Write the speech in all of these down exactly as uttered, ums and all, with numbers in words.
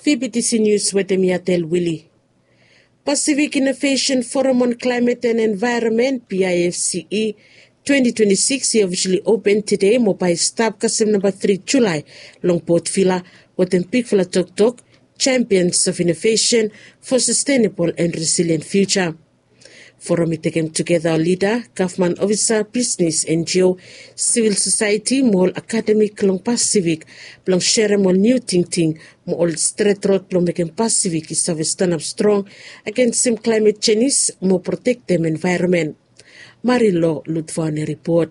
B B T C News wetem Yatel Willie. Pacific Innovation Forum on Climate and Environment, P I F C E, twenty twenty-six i officially open today mo bae i stap kasem namba tri Julai long Port Vila wetem bigfala toktok, Champions of Innovation for Sustainable and Resilient Future. Forum i tekem tugeta ol lida, gavman ofisa, bisnis, N G O, sivil sosaeti mo ol akademik long Pasifik blong serem ol niu tingting mo ol stret rod blong mekem Pasifik i save stanap strong agensem klaemet jenis mo protektem envaeronmen. Marilo Lutfon i ripot.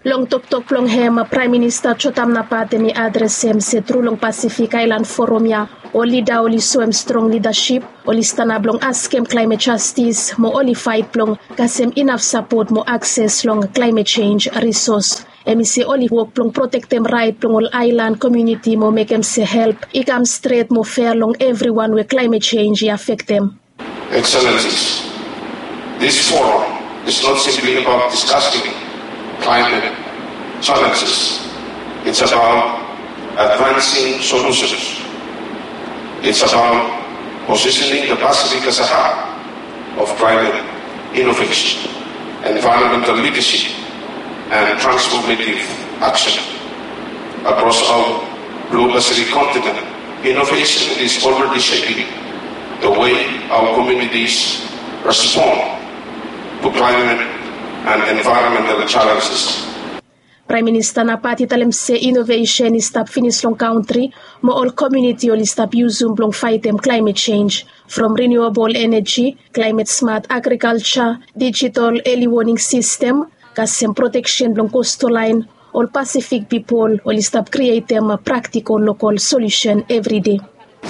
Long toktok blong hem, Praem Minista Jotam Napat hem i adresem se tru long Pasifik Aelan Forum ya ol lida oli soem strong lidasip, oli stanap blong askem klaemet jastis mo oli faet blong kasem inaf sapot mo akses long klaemet jenj risos. Hem i se oli wok blong protektem raet blong ol aelan komuniti mo mekem se help i kam stret mo fea long evriwan we klaemet jenj i afektem. Excellencies, this forum is not simply about discussing climate challenges. It's about advancing solutions. It's about positioning the Pacific as a hub of climate innovation, environmental leadership, and transformative action. Across our blue Pacific continent, innovation is already shaping the way our communities respond to climate and environmental challenges. Praem Minista Napat i talem se inovesen i stap finis long kantri mo ol komuniti oli stap yusum blong faetem klaemet jenj, from renewable energy, climate smart agriculture, digital early warning system, kasem proteksen blong coastal line, ol Pasifik pipol oli stap krietem praktikol lokol solusen evri dei.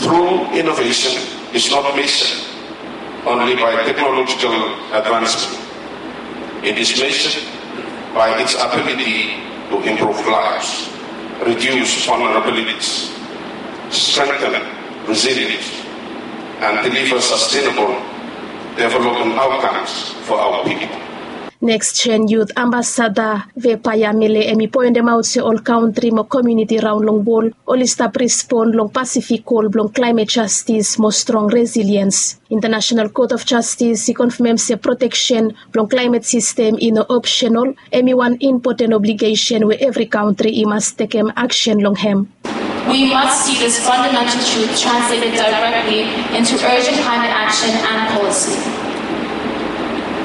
True innovation is not measured only by technological advancement. It is measured by its ability to improve lives, reduce vulnerabilities, strengthen resilience, and deliver sustainable development outcomes for our people. Next Gen Youth Ambassador Vepaya Mele hem i poendemaot se ol kantri mo komuniti raon long wol oli stap respon long Pasifik kol blong klaemet jastis mo strong resiliens. International Court of Justice i konfamem se proteksen blong klaemet sistem i no opsenol, hem i wan impoten obligesen we evri kantri i mas tekem aksen long hem. We must see this fundamental truth translated directly into urgent climate action and policy.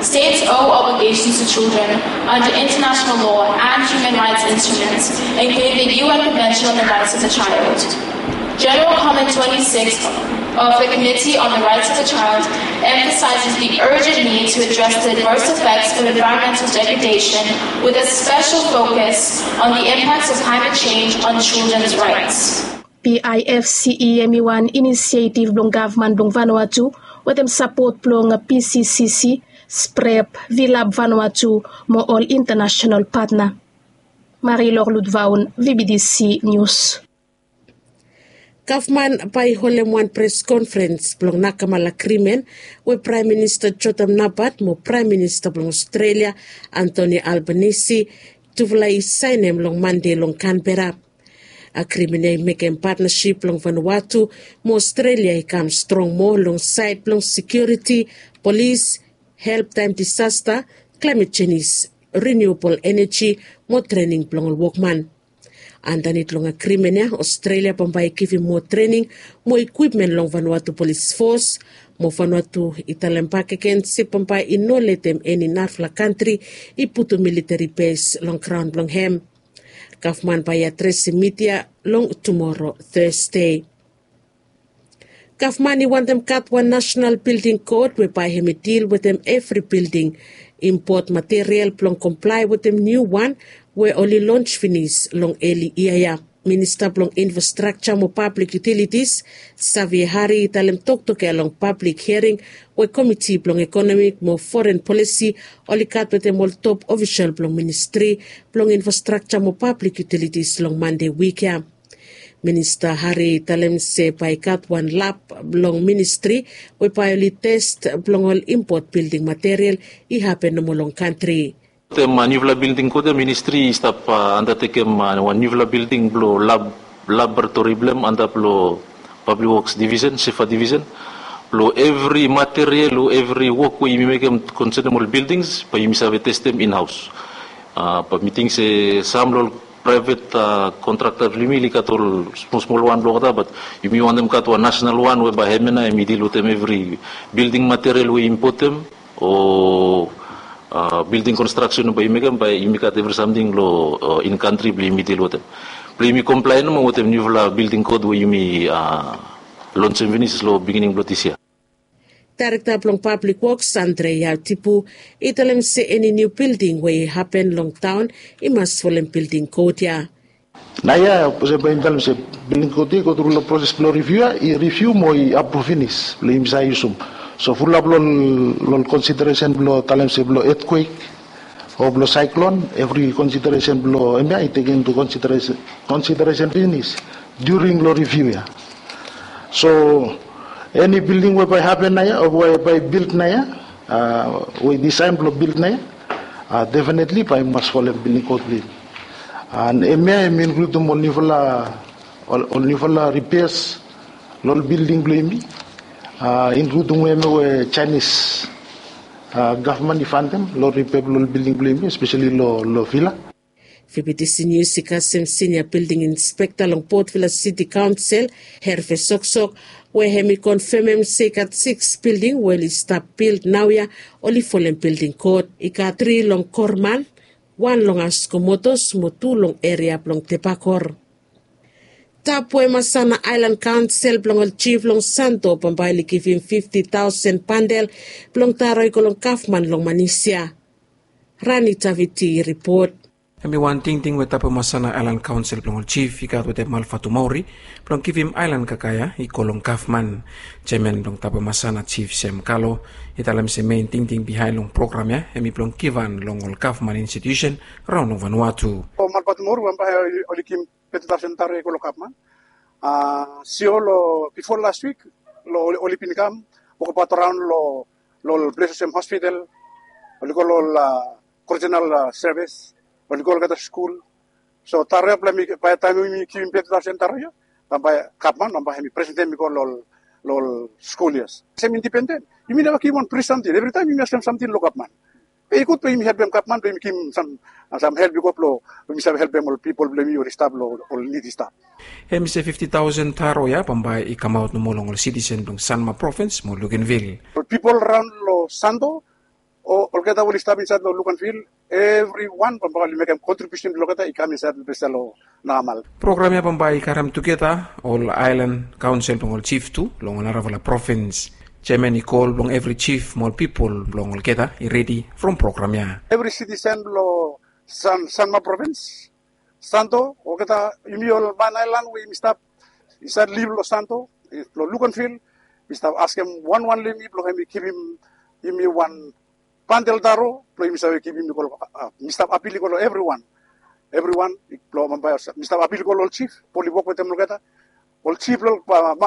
States owe obligations to children under international law and human rights instruments, including the U N Convention on the Rights of the Child. General Comment twenty-six of the Committee on the Rights of the Child emphasizes the urgent need to address the adverse effects of environmental degradation, with a special focus on the impacts of climate change on children's rights. P I F C E hem i wan inisietiv blong gavman blong Vanuatu wetem sapot blong P C C C, SPREP, Vilab Vanuatu mo ol internasenal patna. Marie Lorlut Vaun, V B T C News. Gavman bae i holem wan pres konferens blong nakamal agrimen we Praem Minista Jotam Napat mo Praem Minista blong Ostrelia, Anthony Albanese, tufala i saenem long Mande long Kanbera. Agrimen ya i mekem patnasip blong Vanuatu mo Ostrelia i kam strong moa long saed blong sekiuriti, polis, help taem disasta, klaemet jenis, riniuabol eneji mo trening blong ol wokman. Andanit long agrimen ya, Ostrelia bambae i givim moa trening mo ikwipmen long Vanuatu Polis Fos, mo Vanuatu i talem bakegen se bambae i no letem eni narafala kantri i putum militeri bes long graon blong hem. Gavman bae i adresem midia long tumora, Thursday. Gavman i wantem gat wan nasenal bilding kod we bae hem i dil wetem evri bilding, impot material blong komplae wetem niu wan we oli lons finis long eli yia ya. Minista blong Infrastrakja mo Pablik Yutilitis, Xavier Hari, i talem toktok ya long pablik hiaring we Komiti blong Ekonomik mo Foren Polisi oli gat wetem ol top ofisol blong Ministri blong Infrastrakja mo Pablik Yutilitis long Mande wik ya. Minista Hari i talem se bae i gat wan lab blong ministri we bae oli tes blong ol impot bilding material i hapen nomo long kantri. Wetem niufala bilding kot ya ministri i stap andatekem wan niufala bilding blong lab laboratori blong hem antap long pablik woks divisen sefa divisen, blong evri material o evri wok we yumi mekem konsenem ol bildings bae yumi save testem inhaos. Bat mi ting se sam long ol praevet kontrakta blong yumi oli gat ol smolsmol wan blong olgeta bat yumi wantem gat wan nasenal wan we bae hem ya nao hem i dil wetem evri bilding material we i impotem o bilding konstraksen we bae yumi mekem bae yumi gat evri samting long in kantri blong yumi dil wetem blong yumi komplaen nomo wetem niufala bilding kot we yumi lonsem finis long bigining blong disia. Daerekta blong pablik woks andre yaotipu i talem se eni niu bilding we i hapen long taon i mas folem bilding kot ya. Naoia olsem bae yumi talem se bilding kot ya i gotru long proses blong riviu ya i riviu mo i apruv finis blong yumi save yusum. So fulap long ol konsideresen blong talem se blong etkwek o blong saeklon evri konsideresen blong hem ya i tekem intu konsideresen finis during long riviu ya. So eni bilding we bae hapen naoia o we bae bilt naoia we i disaen blong bilt naoia, definetli bae i mas folem bilding kot blong yumi. An hem ya hem i inkludim ol niufala ol niufala ripeas long ol bilding blong yumi, inkludim we hem ya we jaenis gavman i fantem long ripea blong ol bilding blong yumi espeseli long vila. Fibitisi nius i kasem sinia bilding inspekta long potvila siti kaonsel herve soksok we hem i konfemem se i gat siks bilding we oli stap bild naoia oli folem bilding kot i gat tri long korman, wan long askomotos mo tu long eria blong tebakor. Tap we masana aelan kaonsel blong ol jif long santo bambae oli givim fifti taosen bandel blong taro i go long gavman long manisia. Rani taviti i ripot. Hem i wan tingting we tapomasana aelan kaonsel blong ol jif i gat wetem alfatu maori blong givim aelan kakaea i go long gavman. Jeaman blong tapomasana jif sem kalo i talem se mein tingting bihaen long program ya hem i blong givhan long ol gavman institiusen raon long vanua tu. Ol malbatu maori bambae oli givim teti taosen taro i go long gavman. Sio long bifo las wik long oli bin kam wokabaot raon long ol ples olsem hospital, oli go long ol korijenal sevis, oli go olgeta skul. So taro ya blong hem i bae taem yumi givim teti taosen taro ya bambae gavman bambae hem i presentem i go long ol skul ya. Sem indipenden yumi neva givim wan pri samting evritaem yumi askem samting long gavman. Be i gud blong yumi helpem gavman blong yumi givim sam help i go blong yumi save helpem ol pipol blong yumi oli stap long ol nid i stap. Hem i se fifti taosen taro ya bambae i kamaot nomo long ol sitisen blong sanma provins mo lukenvil. Ol pipol raon long santo o olgeta we oli stap insaed long lukenvil evriwan bambae oli mekem kontribiusen blong olgeta i kam insaed long ples ya long nagamal. Program ya bambae i karem tugeta ol aelan kaonsel blong ol jif tu long ol narafala provins. Jeaman i kol blong evri jif mo ol pipol blong olgeta i redi from program ya. Evri sitisen blong sanma provins, santo olgeta yumi ol man aelan we yumi stap insaed liv long santo, long lukenvil, mi stap askem wanwan long yumi blong hem i givim yumi wan bandel taro blong yumi save givim i go long mi stap apil i go long evriwan evriwan blong bambae mi stap apil i go long ol jif blong oli wok wetem olgeta ol jif blong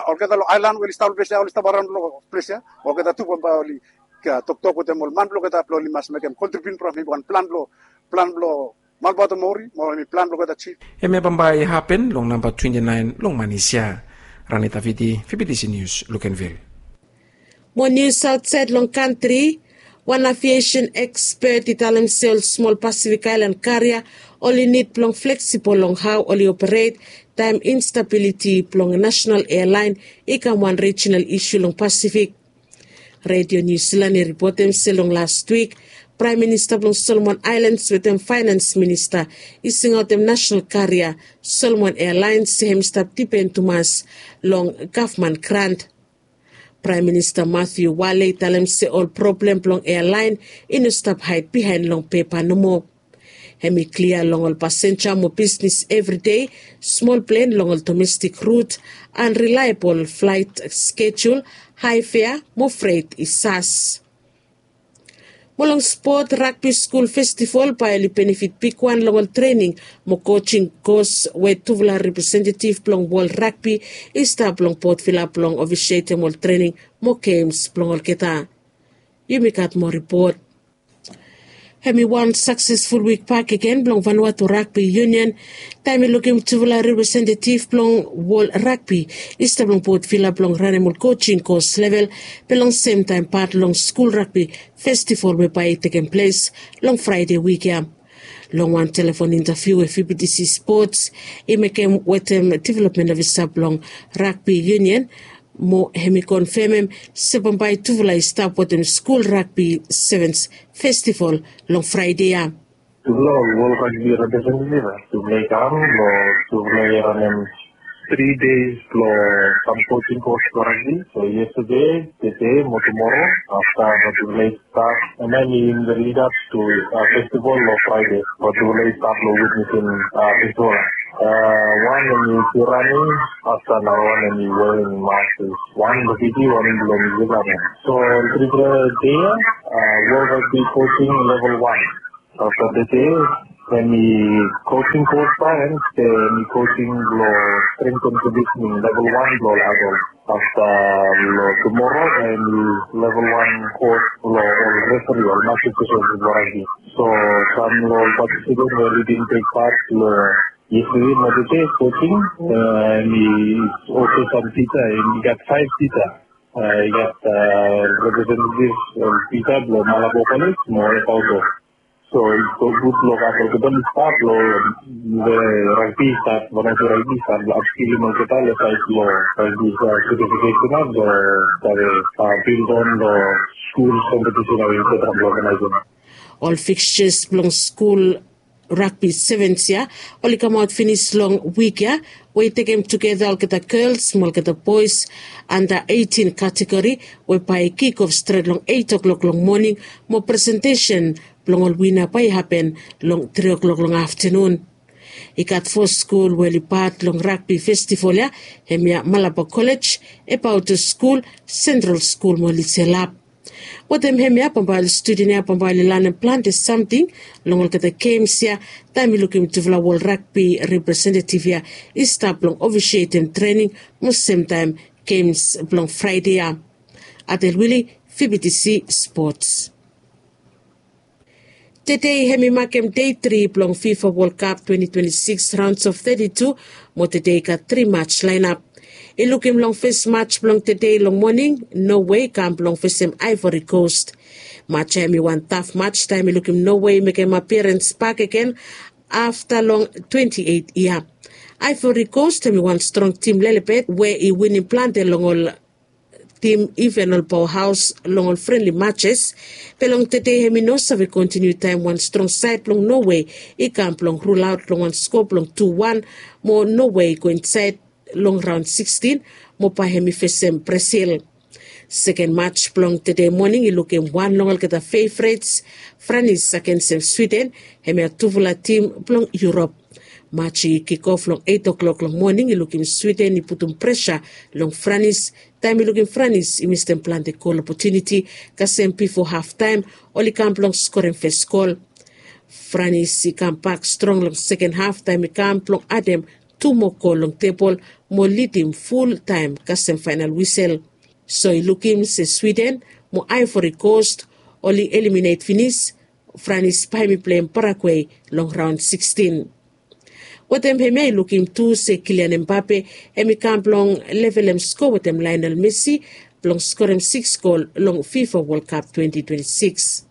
olgeta long aelan we oli stap long ples ya oli stap araon long ples ya olgeta tu bambae oli toktok wetem ol man blong olgeta blong oli mas mekem kontribiut blong hem i wan plan blong plan blong malbato mori mo hem i plan blong olgeta jif. Hem ya bambae i hapen long namba twenti naen long manis ya. Rani taviti fibitisi nius lukenvil. Mo nius aotsaed long kantri, wan aviesen ekspet i talem se ol smol pasifik aelan karia oli nid blong fleksibol long hao oli operet taem instabiliti blong nasenal ealaen i kam wan rijinal isu long pasifik. Redio niu silan i ripotem se long lastwik praem minista blong solomon aelans wetem faenans minista i singaotem nasenal karia solomon ealaen se hem i stap dipen tumas long gavman grant. Praem minista matiu wale i talem se ol problem blong ealaen i no stap haed bihaen long pepa nomo. Hem i klia long ol pasenja mo bisnis evridei, smol plen long ol domestik rut, anrilaebol flaet skejul, hae fea mo fret i sas. Mo long spot, ragbi skul festivol bae oli benefit bigwan long ol trening mo kojing kos we tufala representetiv blong wol ragbi i stap long potvila blong ofisietem ol trening mo gems blong olgeta. Yumi gat moa ripot. Hem i wan saksesful wik bakegen blong Vanuatu Ragbi Union taem i lukim tufala representetiv blong wol ragbi i stap long Port Vila blong ranem ol kojing kos level be long semtaem pat long skul ragbi festival we bae i tekem ples long Fraede wik ya. Long wan telefon intaviu we V B T C Sports i mekem wetem development officer blong Ragbi Union, mo hem i konfemem se bambae tufala i stap wetem skul ragbi sevens festival long Fraede ya. Tufala ol wol ragbi representetiv ya tufala i kam long tufala i ranem tri deis blong sam kojing kos blong ragbi. So yestade, tede mo tumoro afta, bat tufala i stap, and then in the lead up to festival long Fraede, bat tufala i stap long witnesim festival. Wan hem i raning, afta nara wan hem i wearing mask. Wan blong Fiji, wan blong New Zealand. So tripela dei ya, wol ragbi kojing level wan. Afta tede hem i kojing kos bae, and hem i kojing blong strength and conditioning level wan blong ol adult. Afta long tumoro bae hem i level wan kos blong ol referi, ol master session blong ragbi. So sam long ol patisipant we oli bin tek pat long yestade mo tede kojing, hem i olsem sam tisa, hem i gat faef tisa. I gat representetiv tisa blong Malabo College mo Epauto. So i go gud long gat olgeta i stap long we ragbi i stap, Vanuatu ragbi i stap long apskilim olgeta long saed blong ragbi certification ya blong save bildon long skul kompetisen ya we i stap long organizing. Ol fixtures blong skul ragbi sevens ya oli kamaot finis long wik ya, we i tekem tugeta olgeta gels mo olgeta boes anda eitin kategori, we bae i kik of stret long eit o'klok long moning, mo presentesen blong ol wina bae i hapen long tri o'klok long aftanun. I gat fo skul we oli pat long ragbi festival ya, hemia Malabo College, Epauto Skul, Sentral Skul mo Liselap. Wetem hemia bambae ol studen ya bambae oli lanem plante samting long olgeta gems ya, taem i lukim tufala wol ragbi representetiv ya i stap long ofisietem trening mo semtaem gems blong Fraede ya. Adel Wili, V B T C Sports. Tede hem i makem dei tri blong FIFA World Cup twenty twenty-six rounds of thirty-two, mo tede i gat tri mats laenap. I lukim long fes mats blong tede long moning, Norway i kam blong fesem Ivory Coast. Mats ya hem i wan taf mats taem i lukim Norway i mekem apiarens bakegen afta long twenti eit yia. Ivory Coast hem i wan strong tim lelebet we i winim plante long ol tim, iven ol powerhaus long ol frenli matses. Be long tede hem i no save kontiniu taem wan strong saed blong Norway i kam blong rulaot long wan skoa blong tu wan, mo Norway i go insaed long raon sikstin, mo bae hem i fesem Brazil. Seken mats blong tede moning i lukim wan long olgeta fevrets, Franis agensem Swiden, hemia tufala tim blong Yurop. Mats i kikof long eit o'klok long moning i lukim Swiden i putum presa long Franis, taem i lukim Franis i mistem plante gol opotuniti, kasem bifo haftaem oli kam blong skorem fes gol. Franis i kambak strong long seken haf taem i kam blong adem tu moa gol long tebol mo lidim fultaem kasem faenal wisel. So i lukim se Swiden mo Ivory Coast oli eliminet finis, Franis bae hem i pleim Paraguay long raon sikstin. Wetem hemia i lukim tu se Kylian Mbappe hem i kam blong levelem skoa wetem Lionel Messi blong skorem siks gol long FIFA World Cup twenty twenty-six.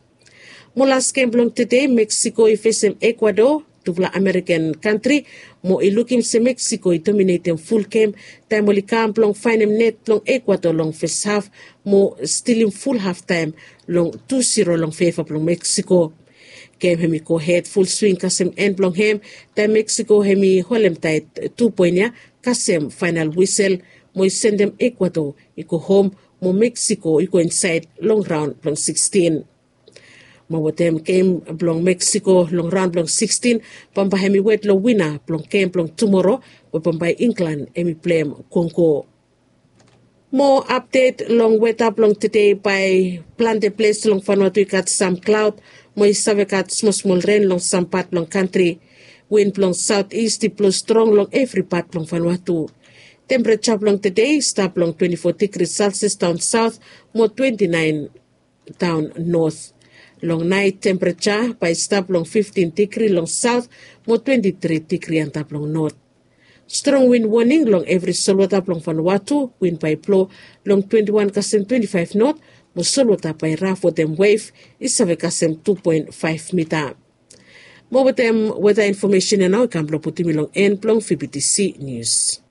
Mo las gem blong tede, Meksiko i fesem Ekuador, tufala Amerikan kantri, mo i lukim se Meksiko i dominetem ful gem taem oli kam blong faenem net blong Ekuador long fes haf mo stilim ful haftaem long tu siro long feva blong Meksiko. Gem hem i gohed ful swing kasem en blong hem, taem Meksiko hem i holemtaet tu poen ya kasem faenal wisel, mo i sendem Ekuador i go hom, mo Meksiko i go insaed long raon blong sikstin. Mo wetem gem blong Meksiko long raon blong sikstin, bambae hem i wet long wina blong gem blong tumoro, we bambae Inglan hem i pleim Kongo. Mo apdet long weta blong tede, bae plante ples long Vanuatu i gat sam klaod, mo i save gat smolsmol ren long sam pat blong kantri. Win blong saot ist i blo strong long evri pat blong Vanuatu. Tempereja blong tede i stap long twenti fo digri Celsius daon saot mo twenti naen daon not. Long nait tempereja bae i stap long fiftin digri long saot mo twenti tri digri antap long not. Strong win woning long evri solwota blong Vanuatu. Win bae i blo long twenti wan kasem twenti faef not, mo solwota bae i raf wetem wef i save kasem tu poen faef mita. Mo wetem weta infomesen ya nao i kam blong putum mi long en blong VBTC nius.